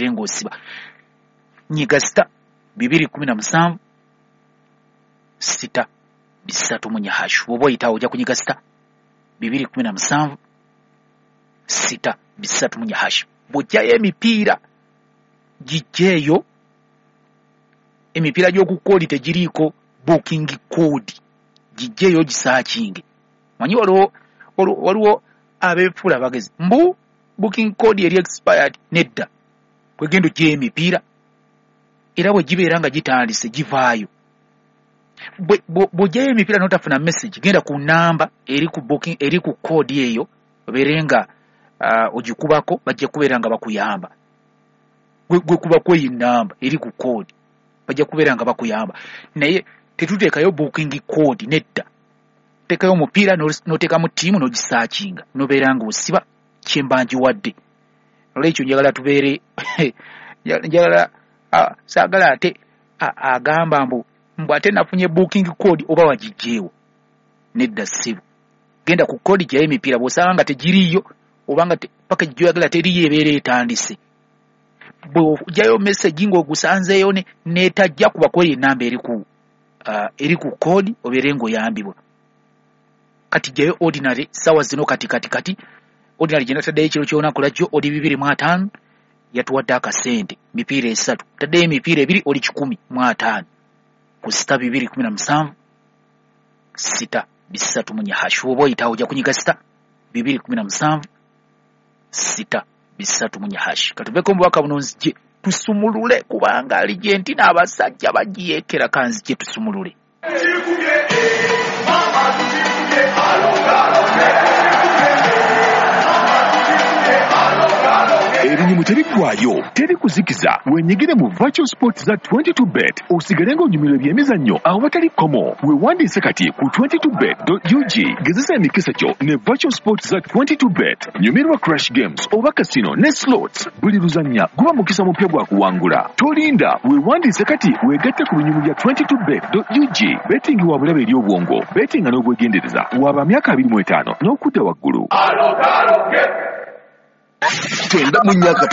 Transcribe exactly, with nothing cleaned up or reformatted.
Ng'osiba nyiga star bibiri kumi na musanvu sita bisatu munya hash. Bw'oba oyitawo ojja kunyiga star bibiri kumi na musanvu sita bisatu munya hash. Bw'ojjayo emipiira gijjeeyo, emipiira gy'oku code tegiriiko booking code, gijjeeyo gisearchinge. Manyi waliwo waliwo abeefuula abagezi mbu booking code eri expired. Nedda, kwegenda ojjayo emipiira era bwe gibeera nga gitandise givaayo. Bw'ojjayo emipiira n'otafuna message, genda ku namba eri ku booking, eri ku code eyo, obeere nga uh, ogikubako, bajja kubeera nga bakuyamba. Gwe kubako eyo namba eri ku code, bajja kubeera nga bakuyamba. Naye tetuteekayo booking code, nedda. Teekayo omupiira n'oteekamu ttiimu n'ogisearchinga n'obeera ng'osiba kyemba ngiwadde. Olwekyo njagala tubeere, njagala saagala ate agamba mbu mbu ate nafunye booking code oba wagiggyeewo. Nedda ssebo, genda ku code, gyayo emipiira. Bw'osanga nga tegiriiyo oba nga package gy'oyagala teriiyo, ebeera etandise. Bw'ojjayo message ng'ogusanzeeyo n'etajja, kubako eyo enamba eri ku uh, eri ku code, obeere ng'oyambibwa. Kati jjayo ordinary ssaawa zino kati kati kati ordinary gye nataddeyo ekiro ky'olunaku lwajjo oli bibiri mu ataano, yatuwadde akasente mipiira esatu. Taddeyo emipiira ebiri, oli kikumi mu ataano ku star bibiri kumi na musanvu sita bisatu munya hash. Bw'oba oyitawo ojja kunyiga star bibiri kumi na musanvu sita bisatu munya hash. Katuveko mu bubaka buno nzije tusumulule, kubanga aligenti n'abasajja bagiyeekera. Kanzije tusumulule. Ebinyumu tebiggwayo, teri kuzikiza. Wenyigire mu virtual sports za twenty-two bet, osigale ng'onyumirwa ebyemizannyo awatali kkomo. Weewandiise kati ku twenty-two bet dot U G. Gezesa emikisa gyo ne virtual sports za twenty-two bet. Nyumirwa crash games oba casino ne slots. Buli luzannya guba mukisa mupya gwa kuwangula. Tolinda, weewandiise kati weegatte ku binyumu bya twenty-two bet dot U G. Betting wa bulabe eri obwongo. Bettinga n'obwegendereza. Waba myaka abiri mu etaano n'okudda waggulu. Tenda mu myaka.